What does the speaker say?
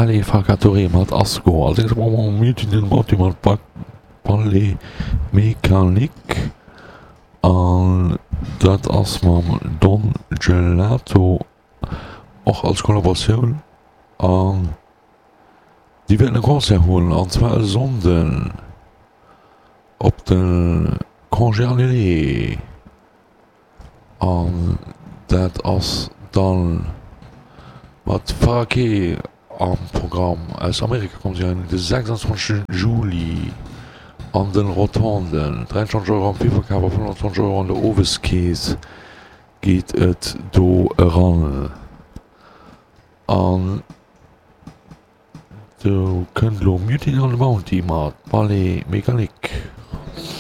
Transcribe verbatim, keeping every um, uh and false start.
Ali Farka Touré mat Asco. Als nächstes brauche mer Mutiny on the Bounty mat Ballet Mécanique an dat ass mam Don Gelato och als Kollaboratioun an déi wäerten e Concert hunn an zwar e Sonnden op de Congé annulé an dat ass dann mat Farake am Programm. Aus Amerika kommen si de sechsundzwanzeg Juli an den Rotonden. dräiundzwanzeg Euro am Virverkaf a fënnfanzwanzeg Euro an der Oweskeess geet et do eran. An do kënnt elo Mutiny on the Bounty mat Ballet Mécanique.